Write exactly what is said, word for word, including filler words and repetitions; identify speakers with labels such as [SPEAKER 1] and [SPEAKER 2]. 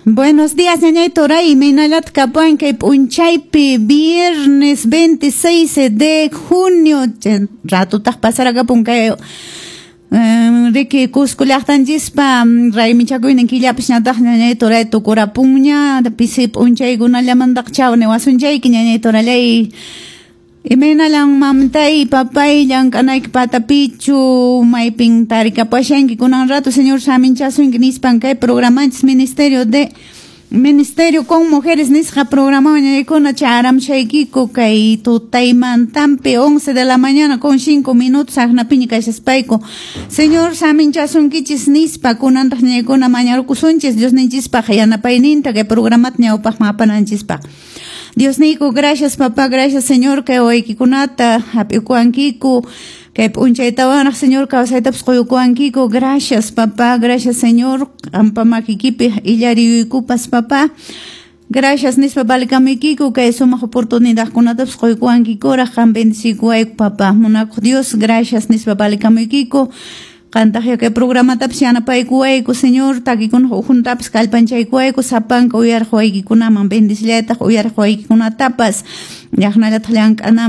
[SPEAKER 1] Buenos días, ñañay Toray, imaynallataq kapuwan kay p'unchaypi viernes veintiséis de junio, ratutaq pasaraqapun kay riki Cusco llaqtanchispa raymichakuynin killapis ñataq ñañay Toray tukurapunña, pisi p'unchaykunallamantaq chaw niwasunchayki ñañay Torallay. Imaynalan mamtay, papay, llank'anayki patapichu, maypin tarikapashanki kunan rato, señor saminchasunki nispan kay programanchis Ministerio de Ministerio con Mujeres nisqa programa ñañaykuna charamshaykiku kay tutaymantampi once de la mañana con cinco minutos aqnapiña kashaspayku. Señor saminchasunkichis nispa kunantaq ñañaykuna mañarukusunchis Diosninchispaq yanapayninta kay programata ñawpaqman apananchispaq. Dios niyku, gracias papá, gracias Señor, kay waykikunata hap'ikuwankiku, kay p'unchaytawanaq Señor kawsaytapas quykuwankiku, gracias papá, gracias Señor, qampa makikipi illariyuykupas papá. Gracias nispa valikamuykiku kay sumaq oportunidadkunatapas quykuwankikuraq, qam bendecikuwayku papá, munakuq Dios, gracias nispa valikamuykiku. Qantaq kay programatapas yanapaykuwayku Señor, takikunaq ukhuntapas kallpanchaykuwayku, sapanka uyariq waykikunaman bendecillaytaq uyariq waykikunatapas, llaqnallataq llank'anaman.